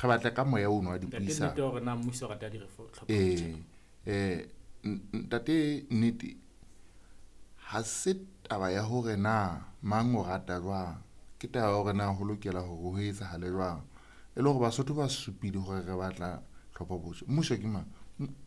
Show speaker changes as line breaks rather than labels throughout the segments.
Re batla ka moya ono wa dipuisano.
Ntate hore na mmuso o rata di-reform.
Ntate nnete ha se taba ya hore na mang o rata jwang, ke taba ya hore na ho lokela hore ho etsahale jwang. E le hore Basotho ba supile hore re batla tlhopho botjha. Mmuso ke mang?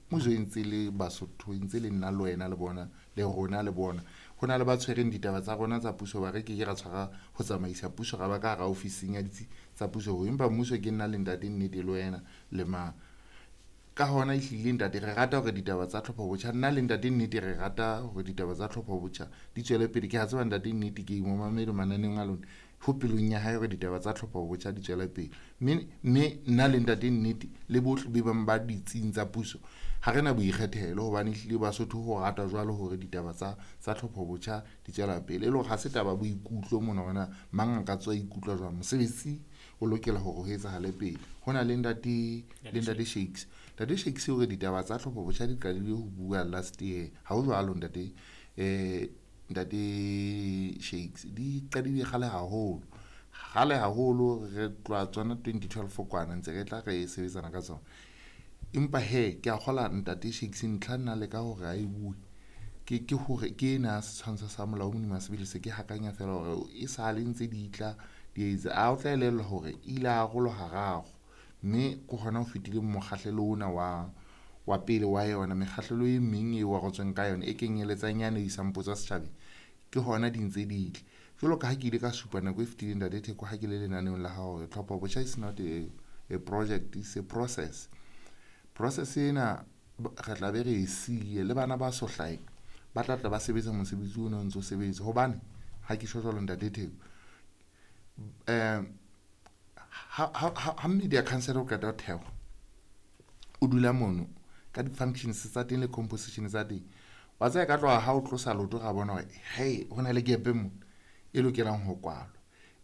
Mmuso e ntse le Basotho, e ntse le nna le wena le bona, le rona le bona. Ho na le ba tshwereng ditaba tsa rona tsa puso, ba re ke ke ra tshwara ho tsamaisa puso, ra ba ka hara ofising ya ditsi tsa puso. Empa mmuso ke nna le ntate nnete le wena le mang. Ka hona ehlile ntate re rata hore ditaba tsa tlhopho botjha, nna le ntate nnete re rata hore ditaba tsa tlhopho botjha di tswele pele. Ke a tseba ntate nnete ke mo mamele mananeong a lona, ho pelong ya hae hore ditaba tsa tlhopho botjha di tswele pele. Mme nna le ntate nnete le bohle be bang ba ditsing tsa puso ha re na boikgethelo, hobane ehlile Basotho ho rata jwalo hore ditaba tsa tlhopho botjha di tswela pele. E le hore ha se taba boikutlo mona hore na mang a ka tswa ikutlwa jwang, mosebetsi o lokela hore ho etsahale pele. Ho na le ntate Shakes. Ntate Shakes hore ditaba tsa tlhopho botjha di qadile ho bua last year. Ha ho jwalo ntate, ntate Shakes, di qadile kgale haholo. Kgale haholo re tloha tsona 2012 kwana ntse re tla re sebetsana ka tsona. Empa he ke a kgola ntate Shakes ntlha nna le ka hore a e bue. Ke hore ke ena setshwantsho sa molao modimo sebele se ke hakanya fela hore e sale ntse di tla di etsa. A o tla elellwa hore ile a arolwa hararo, mme ke hona ho fetile mokgahlelo ona wa pele wa yona. Mekgahlelo e meng e arotsweng ka yona e kenyeletsang yane e isang potso setjhabeng, ke hona di ntse di tle. Jwalo ka ha ke ile ka supa nako e fetileng ntate Theko ha ke le lenaneong la hao hore tlhopho botjha is not a project, it's a process. Process ena re tla be re e siye le bana ba so hlaheng ba tla tla ba sebetsa mosebetsi ona o ntso sebetsa. Hobane ha ke tjho jwalo ntate Theko, ha media council o qeta ho thehwa, o dula mono ka di-functions tsa teng le composition tsa teng, wa tseba ka tloha ha o tlosa leoto ra bona hore hei ho na le gap mo e lokelang ho kwalwa,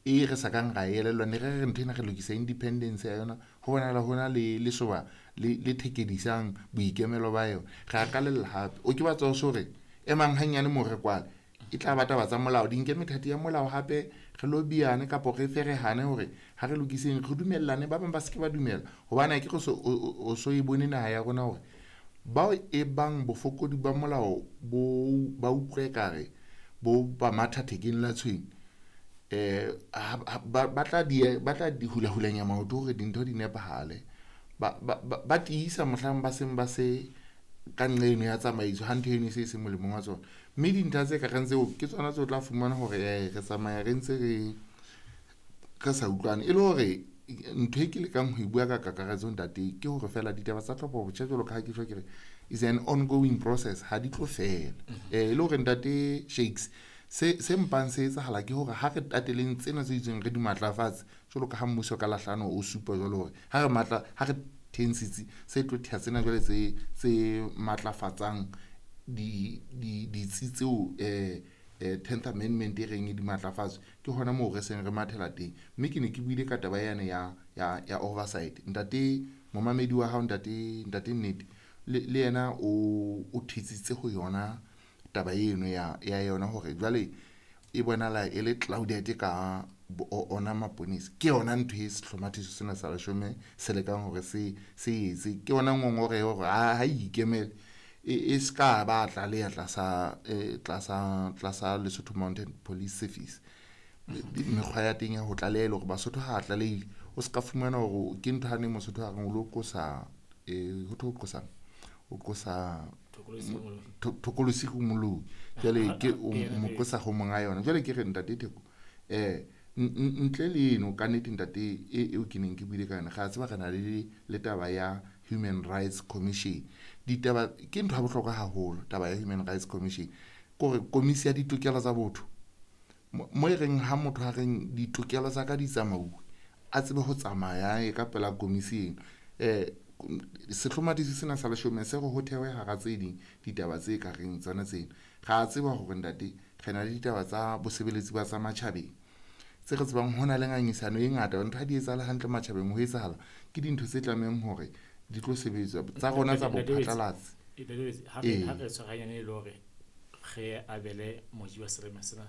e re sa kang ra elellwa. Ne re re ntho ena re lokisa independence ya yona, ho bonahala ho na le lesoba le thekedisang boikemelo ba yona. Re a qalella hape, o ke batla ho so re emang hanyane mo re kwale, e tla ba taba tsa molao, di nke methati ya molao hape re lobbyane kapo re ferehane hore ha re lokiseng re dumellane, ba bang ba se ke ba dumela. Hobane ha ke re o so e bone naha ya rona hore bao e bang bofokodi ba molao bo ba utlwe ekare bo ba matha thekeng la tshwene, ba tla di hulahulanya maoto hore dintho di nepahale. Ba tiisa mohlang ba seng ba se ka nqeno ya tsamaiso, ha ntho eno e se e se molemong wa tsona. Mme dintlha tse ka reng tseo ke tsona tseo tla fumana hore re tsamaya re ntse re sa utlwane. E le hore ntho e ke lekang ho e bua ka kakaretso ntate ke hore fela ditaba tsa tlhopho botjha jwalo ka ha ke tjho ke re is an ongoing process, ha di tlo fela. E le hore ntate Shakes se mpang se etsahala ke hore ha re tateleng tsena tse itseng re di matlafatse jwalo ka ha mmuso ka lahlano o supa jwalo hore ha re matla, ha re thensitse se tlo thea tsena jwale tse matlafatsang ditsi tseo 10th Amendment e reng e di matlafatswe, ke hona moo re seng re mathela teng. Mme ke ne ke buile ka taba yane ya oversight. Ntate momamedi wa hao ntate Nnete le yena o thetsitse ho yona taba eno ya yona hore jwale e bonahala e le clouded ka ona maponesa. Ke yona ntho e sehlomathiso sena sa leshome se lekang hore se etse. Ke yona ngongoreho hore ha ikemele e ska ba tlaleha tlasa Lesotho Mounted Police Service. Mekgwa ya teng ya ho tlaleha hore Basotho ha a tlalehile, o ska fumana hore ke ntho hane Mosotho a reng o lo qosa, ho thwe o qosang? O qosa thokolosi ho moloi. Jwale ke o mo qosa ho monga yona. Jwale ke re ntate Theko, ntle le eno ka nnete ntate eo ke neng ke buile ka yona, re a tseba re na le taba ya Human Rights Commission. Ditaba ke ntho ya bohlokwa haholo taba ya Human Rights Commission, ke hore komisi ya ditokelo tsa botho mo e reng ha motho a reng ditokelo tsa ka di tsamauwe, a tsebe ho tsamaya e ka pela komisi eno. Sehlomathiso sena sa leshome se re ho thewe hara tse ding ditaba tse ka reng tsona tsena. Re a tseba hore ntate re na le ditaba tsa bosebeletsi ba tsa matjhabeng tse re tsebang ho na le ngangisano e ngata, ntho ha di etsahale hantle matjhabeng ho etsahala ke dintho tse tlamehang hore di tlo sebetswa tsa rona tsa bophatlalatsi.
Ha re tshwarahanyane e le hore re abele moji wa serema sena.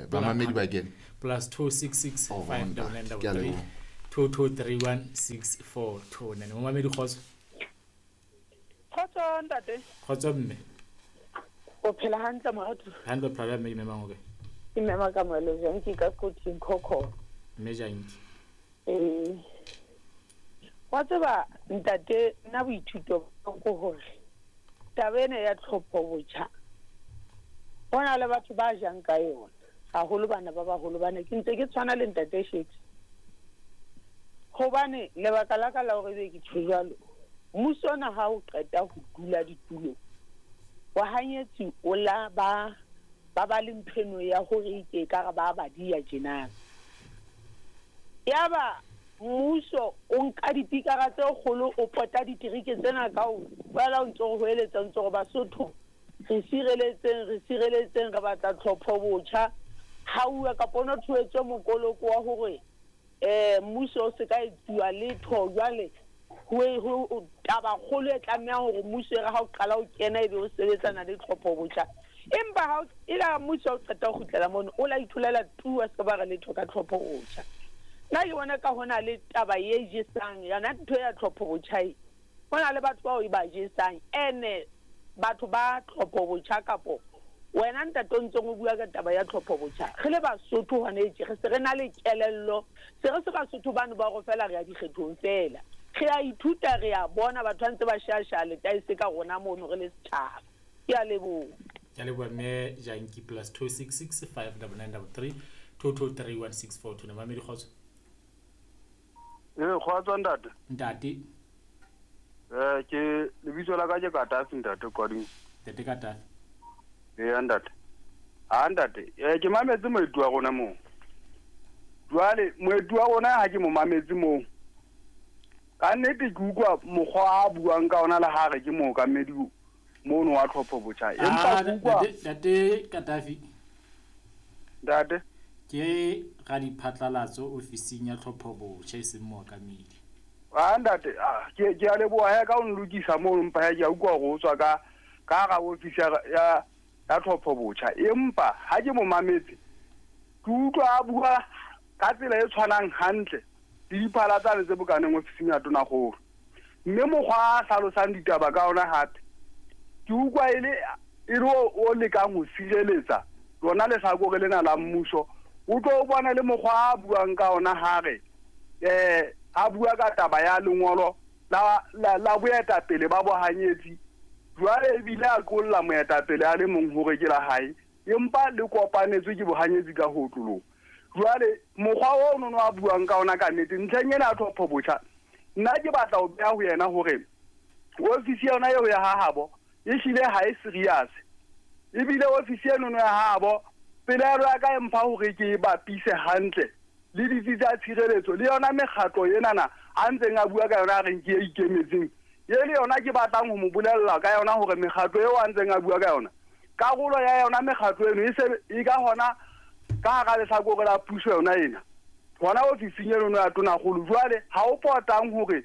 Bamamedi ba kene.
+266 5 9 9 3. 22316429. Momamedi, kgotso.
Kgotso ntate.
Kgotso mme.
O phela hantle, moratu?
Hantle, phela mme. Ke memang o kae?
Ke mema ka moelo Janki ka Koting Khokho.
Mme Janki.
Ee. Wa tseba ntate, nna boithuto ke hore taba ena ya tlhopho botjha, ho na le batho ba jang ka yona, haholo bana ba baholo bana. Ke ntse ke tshwana le ntate Shakes. Hobane lebaka la ka la hore ebe ke tjho jwalo, mmuso ona ha o qeta ho dula ditulong, bahanyetsi o la ba ba ba le ntho eno ya hore ke ekare ba ba diya tjenana. Yaba mmuso o nka dipikara tse kgolo, o pota ditereke tsena kaofela, o ntso re hoeletsa, o ntso re Basotho re sireletseng, re sireletseng, re batla tlhopho botjha. Ha uwa kapa o no thoetswe mokoloko wa hore mmuso o se ka etsuwa letho. Jwale ho taba kgolo e tlamehang hore mmuso e re ha o qala o kena ebe o sebetsana le tlhopho botjha. Empa ha e la mmuso o qeta ho kgutlela mono, o la itholela tu, a se ba re letho ka tlhopho botjha. Nna ke bona ka hona le taba e jesang yona ntho ya tlhopho botjha e. Hona le batho bao e ba jesang, ene batho ba tlhopho botjha kapo wena ntate o ntseng o bua ka taba ya tlhopho botjha. Re le Basotho hona tje re se re na le kelello, se re se Basotho bano ba hore fela re ya dikgethong fela. Re a ithuta, re a bona batho ba ntse ba shasha letaese ka rona mono re le setjhaba. Ke a leboha.
Ke a leboha mme Janki. +266 599 33 2231642. Mamedi, kgotso.
Ee, kgotso ntate.
Ntate.
Ke lebitso la ka ke Katafi ntate Kwading.
Ntate Katafi.
Ee ntate. Ha ntate, ke mametse moeti wa rona moo. Jwale moeti wa rona ha ke mo mametse moo. Ka nnete ke utlwa mokgwa a buang ka ona le ha re ke mookamedi mono wa tlhopho botjha. Empa ke utlwa
Ntate Katafi.
Ntate.
Ke radiphatlalatso ofising ya tlhopho botjha, e seng mookamedi.
Ah ntate, ke a leboha he ka o nlokisa mono, mpa he ke a utlwa hore o tswa ka hara ofisi ya tlhopho botjha. Empa ha ke mo mametse, ke utlwa a bua ka tsela e tshwanang hantle le diphala tsane tse bokaneng ofising ya Tonakgolo. Mme mokgwa a hlalosang ditaba ka ona hape, ke utlwa e le o lekang ho sireletsa lona lehlakore lena la mmuso. O tlo o bona le mokgwa a buang ka ona ha re a bua ka taba ya lengolo la boetapele ba bohanyetsi. Jwale ebile a qolla moetapele a le mong hore ke la hae, empa le kopanetswe ke bohanyetsi ka ho otloloha. Jwale mokgwa ono no a buang ka ona ka nnete ntlheng ena ya tlhopho botjha, nna ke batla ho beha ho yena hore ofisi yona eo ya hahabo e hlile ha e serious. Ebile ofisi eno ya hahabo, pelaelo ya ka e mpha hore ke e bapise hantle le ditsi tsa tshireletso le yona mekgatlo enana a ntseng a bua ka yona a reng ke e ikemetseng. E le yona ke batlang ho mo bolella ka yona hore mekgatlo eo a ntseng a bua ka yona, karolo ya yona mekgatlo eno e se e ka hona ka hara lehlakore la puso yona ena, hona ofising eno ya Tonakgolo. Jwale ha o potang hore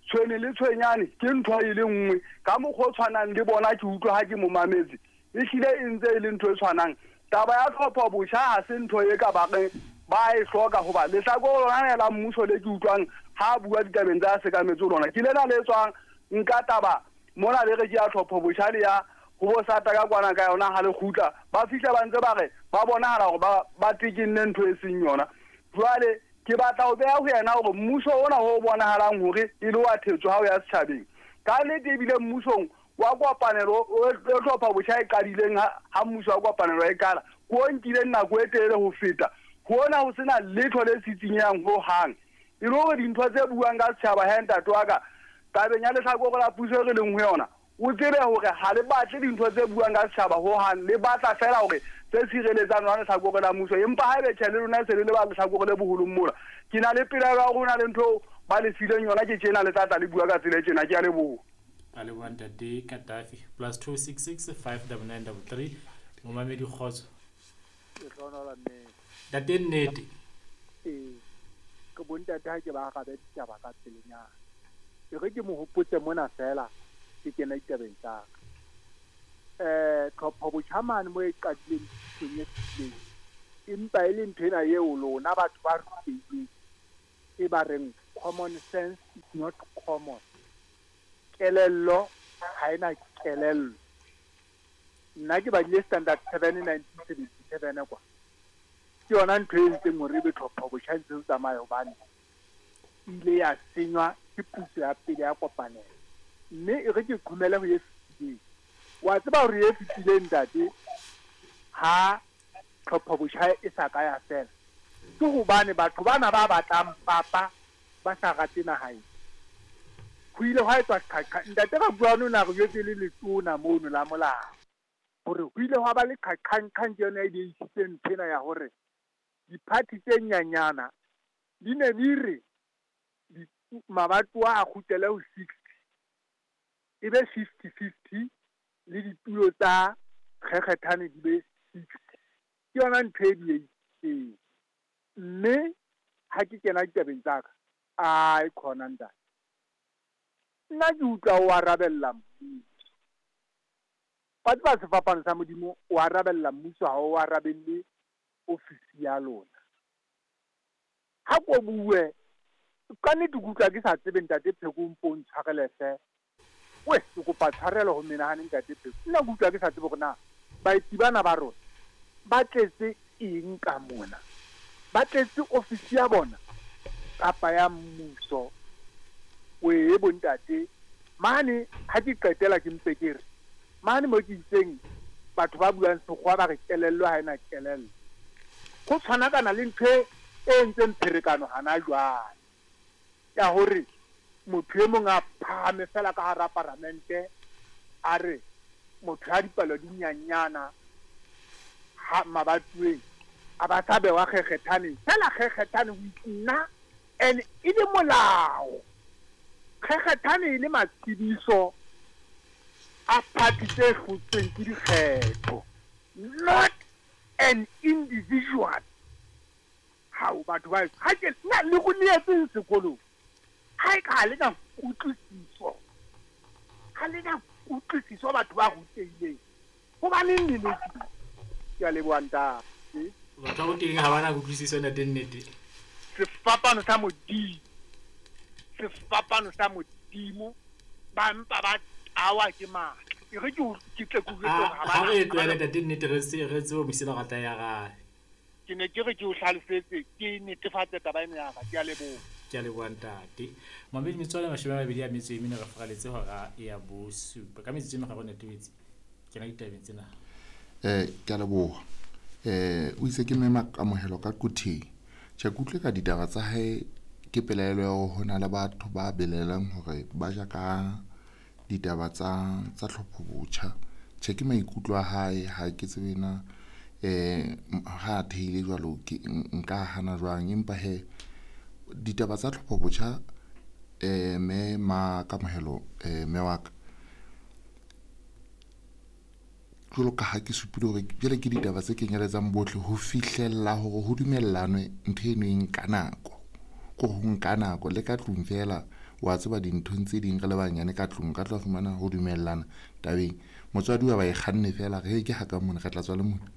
tshwene le tshwenyane ke ntho e le nngwe ka mokgwa o tshwanang le bona. Ke utlwa ha ke mo mametse, ehlile e ntse e le ntho e tshwanang. Taba ya tlhopho botjha ha se ntho e ka ba reng ba e hloka, hoba lehlakore lona la mmuso le ke utlwang ha bua ditabeng tsa sekametse lona ke lena le tswang nka taba mona le re ke ya tlhopho botjha le ya ho bo sata ka kwana ka yona. Ha le kgutla ba fihla ba ntse ba re ba bonahala hore ba tekenne ntho e seng yona. Jwale ke batla ho beha ho yena hore mmuso ona o bonahalang hore e le wa thetso ha o ya setjhabeng ka nnete, ebile mmusong wa kopanelo o tlhopha botjha e qadileng ha mmuso wa kopanelo e qala, ko o nkileng nako e telele ho feta hona, ho sena letho le sitsinyang ho hang. E le hore dintho tse buang ka setjhaba he ntate wa ka, tabeng ya lehlakore la puso e re leng ho yona, o tsebe hore ha le batle dintho tse buang ka setjhaba ho hang, le batla fela hore tse sireletsang lona lehlakore la mmuso. Empa ha ebe tjhe le lona se le le ba lehlakore le boholong mola, ke na le pelaelo ya hore ho na le ntho ba le fileng yona ke tjena, le tla tla le bua ka tsela e tjena. Ke a leboha.
A leboha ntate Katafi. +266 59933. Momamedi, kgotso.
Ke hlohonola nnete.
Ntate Nnete.
Ee, ke bontate ha ke ba arabe ditaba ka pelenyana. E re ke mo hopotse mona fela ke kena ditabeng tsa ka. Tlhopho botjha mane mo e qadileng thutong e fetileng, empa e le ntho ena eo lona batho ba rutehileng e ba reng Common sense is not common. Kelello ha ena kelello. Nna ke badile standard 7 1977 kwa. Ke yona ntho e entseng hore ebe tlhopho botjha ntse o tsamaya hobane ile ya senywa ke puso ya pele ya kopanelo. Mme e re ke qhomele ho e fetileng. Wa tseba hore e fetileng ntate ha tlhopho botjha e sa ka ya fela. Ke hobane batho bana ba batlang papa ba sa rate naha ena. Ho ile hwa etswa qhaqha. Ntate Rabuane o ne a re jwetse le letona mono la molao hore ho ile hwa ba le qhaqhanqhang ke yona e diisitse ntho ena ya hore diphathi tse nyanyana di ne di re mabatowa a kgutlele ho 60 e be 50-50 le ditulo tsa kgekgethane di be 60. Ke yona ntho e diehileng. Mme ha ke kena ditabeng tsa ka, ai khona ntate. Nna ke utlwa o arabella mmuso. Wa tseba sefapano sa Modimo, o arabella mmuso ha o arabelle ofisi ya lona. Ha ko bue, ka nnete ke utlwa ke sa tsebe ntate Pheko mpo ntshwarele hle. We, ke kopa tshwarelo ho menahane ntate Pheko. Nna ke utlwa ke sa tsebe hore na baeti bana ba rona ba tletse eng ka mona. Ba tletse ofisi ya bona kapa ya mmuso. Wee bontate, mane ha ke qetela ke mpe ke re mane mo ke itseng batho ba buang sekgowa ba re kelello ha ena kelello. Ho tshwanakana le ntho e entseng pherekano hana jwale ya hore motho e mong a phahame fela ka hara paramente a re motho ya dipalo di nyanyana ha mabatueng a ba sa bewa kgekgethane fela kgekgethane ho nna and e le molao. Kgekgethane e le matshediso a party tse hlotsweng ke dikgetho, not an individual. Hao batho ba ha ke nna le go neetseng sekolong ha e ka ha le na kutlwisiso, ha le na kutlwisiso batho ba rutehileng hobaneng le le ke a leboha ntate.
Batho ba rutehileng ha ba na kutlwisiso ntate nnete.
Sefapano sa Modimo, sefapano sa Modimo ba mpa ba tawa ke matla. E re ke ke tle ke jwetse hore ha ba
Ha re tlohele ntate nnete re se re tsebe mosela rata ya gae.
Ke ne ke re ke o hlalosetse ke netefatse taba ena ya ka. Ke a leboha.
Ke a leboha ntate. Mamedi metswalle 24 re faraletse hora ya bosupa. Ka metsotso e meraro ntate Wetsi. Kena ditabeng tsena.
Ke a leboha. O itse ke mema kamohelo ka Quthing. Tjhe, ke utlwe ka ditaba tsa hae ke pelaelo ya hore ho na le batho ba belaelang hore ba ja ka ditaba tsa tlhopho botjha. Tjhe, ke maikutlo a hae, ha ke tsebe na ha a theile jwalo ke nka hana jwang, empa he ditaba tsa tlhopho botjha mme ma kamohelo mme wa ka jwalo ka ha ke supile hore jwale ke ditaba tse kenyeletsang bohle ho fihlella hore ho dumellanwe ntho eno e nka nako. Ko ho nka nako le ka tlung fela wa tseba dinthong tse ding re le banyane ka tlung ka tla fumana ho dumellana tabeng. Motswadi wa ba e kganne fela re ke ha ka mona re tla tswa le mona.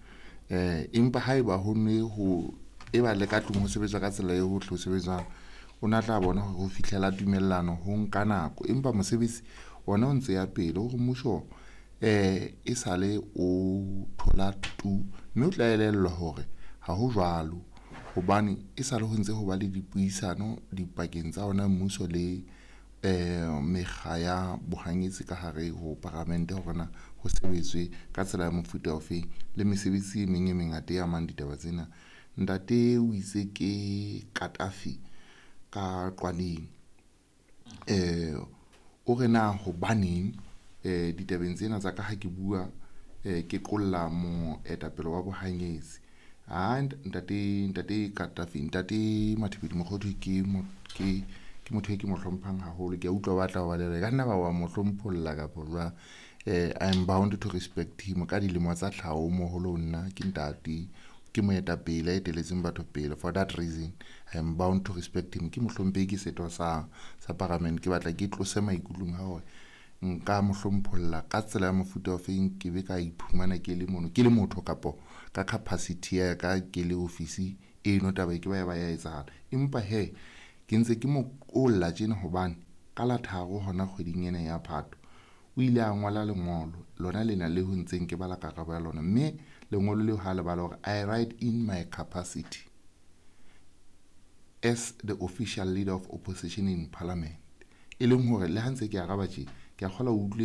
Empa haeba ho ne ho eba le ka tlung ho sebetswa ka tsela eo ho tle ho sebetswang, o na tla bona hore ho fihlela tumellano ho nka nako. Empa mosebetsi ona o ntse ya pele hore mmuso e sale o thola tu, mme o tla elellwa hore ha ho jwalo hobane e sale ho ntse ho ba le dipuisano dipakeng tsa ona mmuso le mekga ya bohanyetsi ka hare ho paramente hore na ho sebetswe ka tsela ya mofuta ofeng le mesebetsi e meng e mengata e amang ditaba tsena. Ntate o itse ke Katafi ka Qwaneng. O re na hobaneng ditabeng tsena tsa ka ha ke bua ke qolla moetapele wa bohanyetsi. Ha ntate Katafi, ntate Mathibeli Mokhothu ke motho e ke mo hlomphang haholo. Ke a utlwa ba tla ba le ka nna ba wa mo hlompholla kapa jwang. I am bound to respect him ka dilemo tsa tlhaho moholo ho nna ke ntate, ke moetapele a eteletseng batho pele. For that reason I am bound to respect him. Ke mohlomphehi, ke setho sa parliament. Ke batla ke tlose maikutlong a hore nka mo hlompholla ka tsela ya mofuta ofeng, ke be ka iphumana ke le mono ke le motho kapo ka capacity ya ka ke le ofisi eno taba e ke ba ya ba ya etsahala. Empa he Ke ntse ke mo qolla tjena hobane ka la 3 hona kgweding ena ya Phato o ile a ngola lengolo lona lena le ho ntseng ke bala karabo ya lona, mme lengolo leo ha le bala hore I write in my capacity as the official leader of opposition in parliament, e leng hore le ha ntse ke araba tje ke a kgola o utlwile.